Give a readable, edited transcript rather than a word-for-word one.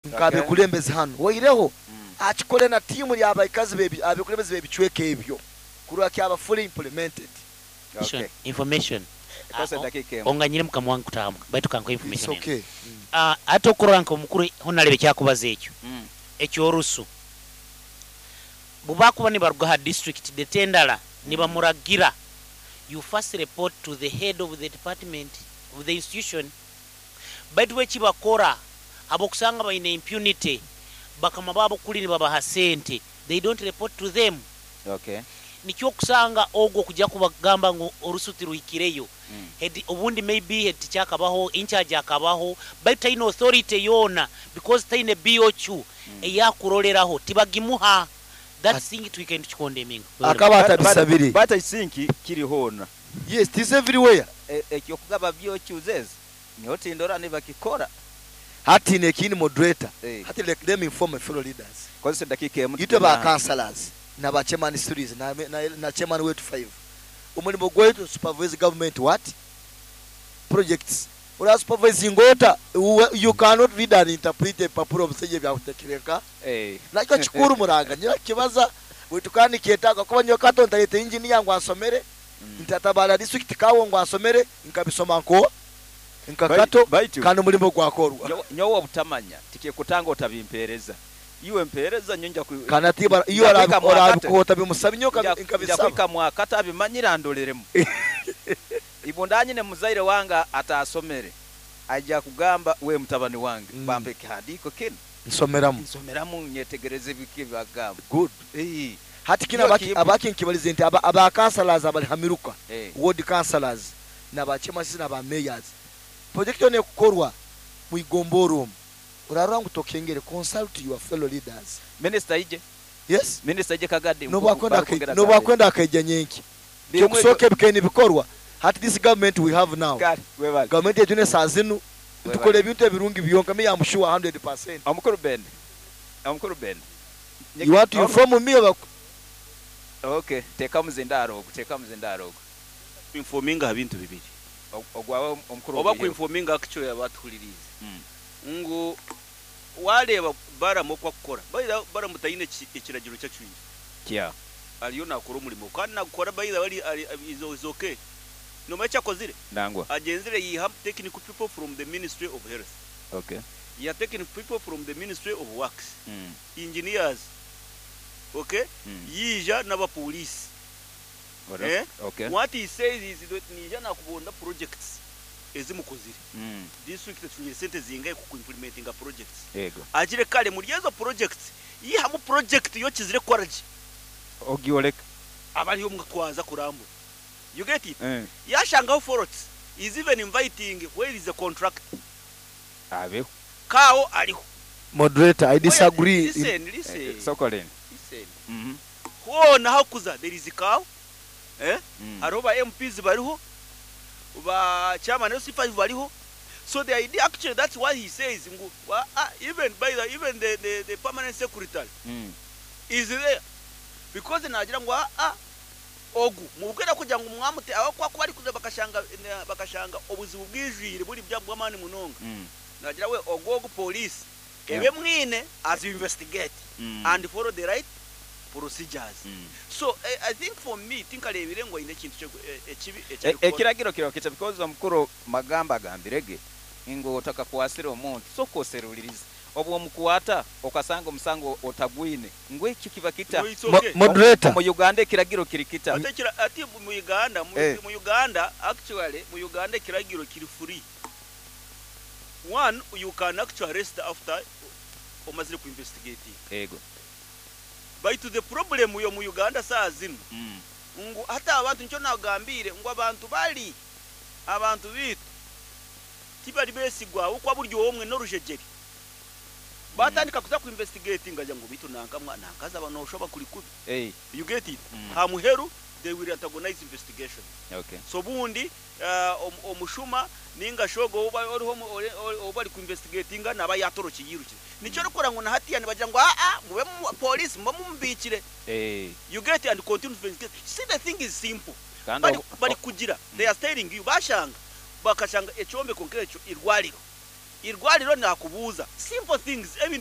Nk'abekulembezi hanu oireho akikole na tiimu y'abaikazi abekulembezi b'ebicweka ebyo kurora kyaba fully implemented. Okay. Information. Kozesa edakiika emu. Onganyire mukama wange kutahamu baitu kankuhe It's information enu. okay. Hati okurora nka omukuru hona ekyakubaza ekyo ekyorusu bubakuba nibaruga ha district dete endala nibamuragira, you first report to the head of the department of the institution, baitu bo ekibakora habwokusanga baine impunity, bakama baabo kuli nibabaha sente, they don't report to them. Nikyo okusanga ogwo okuja kubagamba ngu orusu tiruhikireyo, head obundi maybe head teacher akabaho, incharge akabaho, baitu taine authority yoona because taine BOQ eyakuroreraho, tibagimuha. That thing twikaire nitukikondeminga. Akaba atabisabire. But I think kiri hoona. Yes, it is everywhere. Ekyokugaba BOQs ezo nyowe tindora nibakikora. Hati nekindi moderator, hati let me inform my fellow leaders. Kozesa edakiika emu Itwe tugende ba aha. councillors na ba chairman series na, na, na chairman wetu five, omurimo gwaitu supervise government what? Projects. Ora supervisinga ota? You cannot read and interpret ebipapura omusaija ebyakutekire nka nakyo kikuru muranga nyowe kibaza baitu kandi nikyetaaga kuba nyowe kato ntareta engineer ngu ansomere, ntatabara district kawo ngu ansomere, nkabisoma nko nka kato Baitu kandi omurimo gwakorwa. Nyowe obutamanya tikikutanga otabimpereza. Iwe mpereza nyowe nja Kandi ati iwe nja kuhika mwakate. orabikuha otabimusaba nyowe Nja nkabisaba. kuhika mwakate abimanyire andoreremu. Ibunda nyine muzaire wange atasomere aija kugamba we mutabani wange bampa ekihandiiko kinu. Nsomeramu. Nsomeramu nyetegereze biki ebibagamba. Good. Hati kinu Nyowe kimpe. abaki nkibalize nti aba councillors abali ha miruka, ward councillors na ba chairmans na ba mayors, project yona ekukorwa mwigombora omu, orarora ngu tokengere, consult your fellow leaders. Minister aije. Yes. Minister aije Kagadi Nobwakwenda barikwongera nobwakwenda akaija nyenki. Birimu Kyokusooka ebikaire nibikorwa, hati this government we have now, Kare, webale. government yaitu nesaa zinu, Webale. nitukora ebintu ebirungi byonka, me am sure 100%. Omukuru Ben. Omukuru Ben. You want to inform me oba? Okay, teeka omuzindaaro ogu, teeka omuzindaaro ogu. Kuinfominga aha bintu bibiri. Ogwawe omukuru Oba ogwiheho. kuinfominga actually abatuhuririize ngu wareeba Balaam oku akukora, by the way Balaam taine ekiragiro eki acwire. Ariyo nakora omurimo kandi nagukora by the way ari is okay. Nomanya eki akozire? Nangwa. Agyenzire yaiha technical people from the ministry of health. Yaiha technical people from the ministry of works. Engineers. Okay? Yaija n'abapoliisi. Eh? What he says is that niija nakubonda projects ezi mukozire. District etushungire sente zingahi ku implementinga projects. Agire kare muri ezo projects yihamu project y'okizire kukora gye. Ogyoreka. Aba ariyo mwaza kurambura. You get it? Yashangaho faults, he is even inviting where is the contractor. Abeho. Kaawo ariho. Moderator, I disagree in. Listen, listen. Sokoline. Listen. Hoona ahakuza there is cow, eh? Hariho ba MPs bariho, ba chairman LC5 bariho. So the idea actually that's why he says ngu ah, even by the even the, the, the permanent secretary is there because nagira ngu ah, ah ogu mubwira kugira ngu mwamute aho kwa kuba ari kuza bakashanga bakashanga obuzibu bwijwire buri bya bw'amaani munonga. Nagira we ogu ogu police ebe mwine as you investigate and follow the right procedures. So I think for me tinkareebire ngu aine ekintu ekibi eki arikukora. Ekiragiro kiriho kita because omukuru Magamba agambire ge ngu otakakwasire omuntu soka oserulirize obu omukwata okasanga omusango otagwine ngu ekyo kiba kita. No, it's okay. Moderator. Omu Uganda ekiragiro kiri kita? Ati ekira ati mu Uganda mu mu Uganda actually mu Uganda ekiragiro kiri free. One, you can actually arrest after omazire ku investigating. Baitu the problem yo mu Uganda saa zinu ngu hati abantu nikyo nagambiire ngu abantu bari abantu baitu tibari besigwa ahabw'okuba buri omwe n'orujegyere. Batandika kuza ku investigatinga agira ngu beitu nanka nanka haza nooshoba kuri kubi. You get it? Aha muheru they will antagonize investigation. So obundi omushuma ninga shi ogwo oriho ou bari ku investigatinga naaba yaatorokire yairukire. Nikyo orikureeba ngu na hatiiya nibagira ngu aa mube police mube mumubiikire. You get and continue to investigate. See the thing is simple. Bari kugira they are telling you bashanga bakashanga ekyombeko nk'ekyo irwariro. Irwariro nakubuuza simple things.